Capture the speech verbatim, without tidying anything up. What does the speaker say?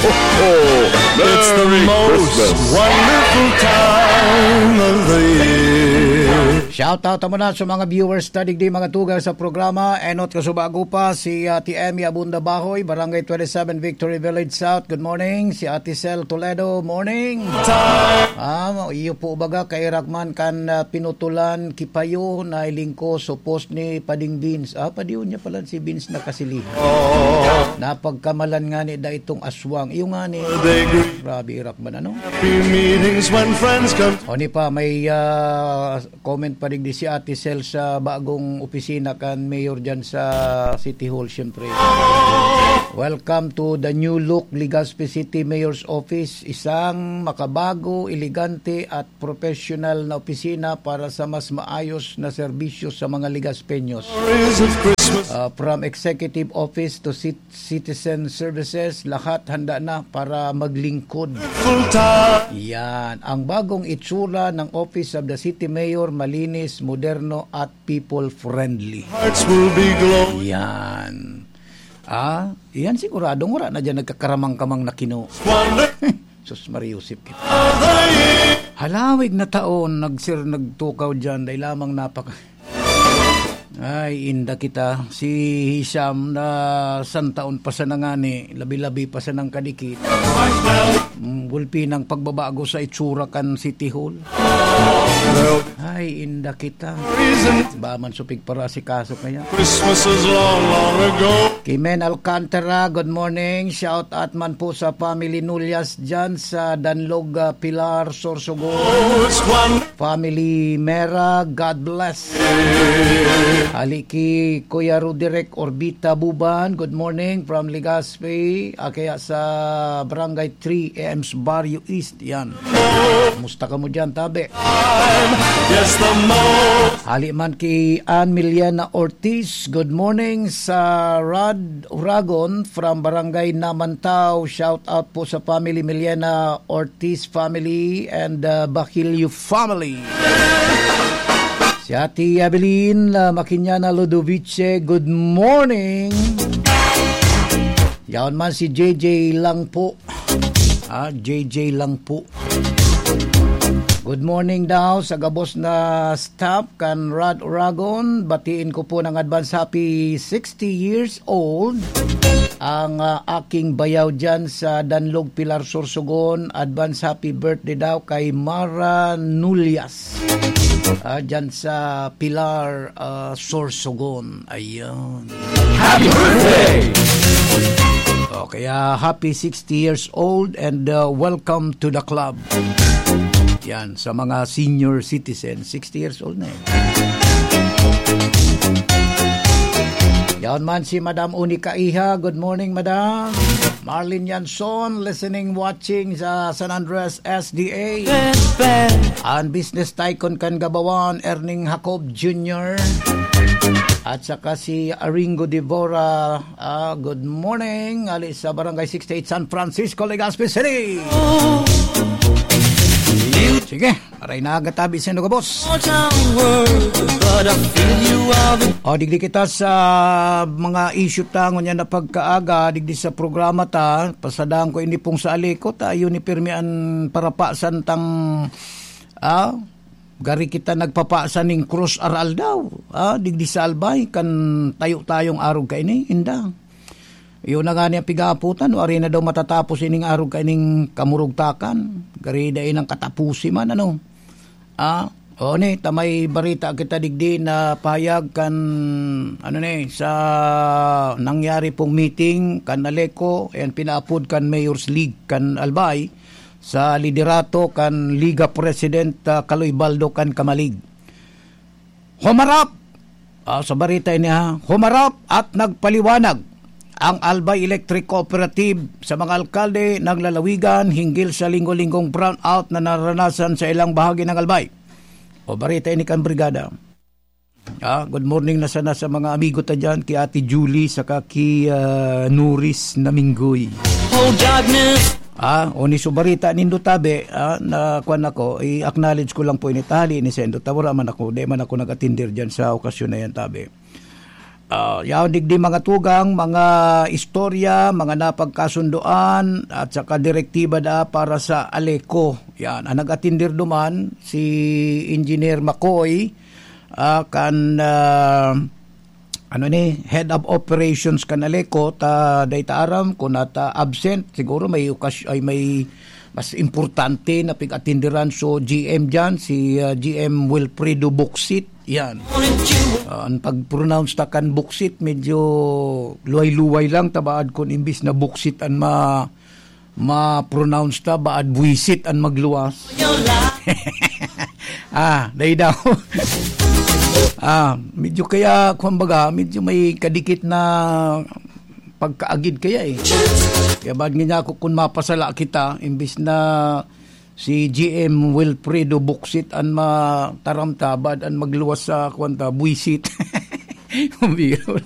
It's the most wonderful time of the year. Shout out muna sa mga viewers ta digdi, mga tugang sa programa. Enot ko subago pa si Ate Emmy Abunda Bahoy, Barangay twenty-seven, Victory Village South. Good morning. Si Ate Cel Toledo, morning. Ah, iyo po baga kairak man kan, ah, pinutulan kipayo na ilingko sa post ni Pading Beans. Ah, padiyon niya pala si Beans nakasilihan. Napagkamalan nga ni da itong aswang. Iyo nga ni, grabe, irak man, ano? Happy meetings when friends come. O ni pa, may, ah, comment pa digdi si Ate Cel sa bagong opisina kan Mayor dyan sa City Hall, siyempre. Welcome to the new look, Legazpi City Mayor's Office. Isang makabago, elegante at professional na opisina para sa mas maayos na serbisyo sa mga Legazpeños. Memories of Christmas. Ah, from executive office to cit-, citizen services, lahat handa na para maglingkod. Full time. Yan. Ang bagong itsura ng Office of the City Mayor, malinis, moderno, at people-friendly. Hearts will be glowing. Yan. Ah, yan siguradong wala na dyan nagkakaramang-kamang na kino. Wonder. Sus, Maria Josep kita. Halawig na taon, nagsir-, nagtukaw dyan, dahil lamang napaka-, ay, inda kita. Si Hisham na santaon pa sana ngani, labi-labi pa sanang kadikit. Mm, gulpi ng pagbabago sa itsura kan City Hall. Ay, inda kita. Ba man supig para si kaso kaya. Christmas is long, long ago. Kimen Alcantara, good morning. Shout out man po sa family Nullas dyan sa Danlog, ah, Pilar, Sorsogon. Oh, it's one. Family Mera, God bless. Ali ki Kuya Roderick Orbita Buban, good morning from Legazpi. Ah, kaya sa Barangay three, A M's Barrio East, yan. Kumusta ka mo dyan, tabi? Yes, the most. Hali man ki Ann Miliana Ortiz, good morning sa Rad Uragon from Barangay Namantao. Shout out po sa family Miliana Ortiz family and, uh, Baquilio family. Si Ate Evelyn, uh, Makinyana Ludovice, good morning. Yaon man si J J lang po. Ah, J J lang po. Good morning daw sa gabos na staff kan Rad Uragon. Batiin ko po ng advance happy sixty years old ang, ah, aking bayaw dyan sa Danlog, Pilar, Sorsogon. Advance happy birthday daw kay Mara Nullas. Ah, dyan sa Pilar, ah, Sorsogon. Ayan. Happy birthday! O, kaya happy sixty years old and, uh, welcome to the club. Yan, sa mga senior citizen, sixty years old na eh. Yan man si Madam Unica Iha. Good morning, Madam. Marlene Yanson, listening, watching sa San Andres S D A. Ang business tycoon kan Gabawan, Erning Jacob Junior. At saka si Aringo Devora. Ah, good morning. Ali sa Barangay sixty-eight, San Francisco, Legazpi City. Sige, aray na agatabi sa inyo, boss. O, digdi kita sa mga issue ta ngunyan na pagkaaga, digdi sa programa ta, pasadaan ko ini pong sa aliko ta, yun ni pirmi an parapasan tang, ah, gari kita nagpapasan ning krus aral daw, ah, digdi sa Albay, kan tayo-tayong arog kaini, inda. Yun na nga niya pigaputan, no, ari na daw matatapos ining arog kaining kamurugtakan. Gari dai nang katapusi man, ano. Ah, o ni, ta may barita kita digdi na pahayag kan, ano ni, sa nangyari pong meeting kan Aleco, ayan, pinaapod kan Mayor's League kan Albay, sa liderato kan Liga President, ah, Kaloy Baldo kan Kamalig. Humarap! Ah, sa barita ini, ha, humarap at nagpaliwanag ang Albay Electric Cooperative sa mga alkalde ng lalawigan hinggil sa linggo-linggong brownout na naranasan sa ilang bahagi ng Albay. O, barita ini kan Brigada. Ah, good morning na sana sa mga amigo ta dyan, ki Ate Julie, saka ki, ah, Nuris Naminggoy. Oh, darkness. Ah, o ni subarita nindo tabi, ah, na kwan ako, i-acknowledge ko lang po ini, tali ni Sendo. Tawara man ako, di man ako nag-attender dyan sa okasyon na yan, tabi. Ah, yaon digdi mga tugang, mga istorya, mga napagkasundoan, at saka direktiba da para sa Aleco. Yan, ang nag-atindir duman, si Engineer Makoy, ah, kan, ah, ano ni, Head of Operations kan Aleco, ta, dai ta aram kung nata absent, siguro may okas-, ay may mas importante na pig-atindiran. So, G M dyan, si, ah, G M Wilfredo Buksit, yan. Ah, ang pag-pronounce ta kan buksit, medyo luway-luway lang, tabaad kun imbis na buksit an ma-, ma-pronounce ta, baad buwisit an magluwas. Ah, dai daw. Ah, medyo kaya, kumbaga, medyo may kadikit na pagkaagid kaya eh. Kaya baad nga ako kun mapasala kita, imbis na si G M Wilfredo Buksit an mataram ta, baad an magluwas sa kwan ta, buwisit. Biro.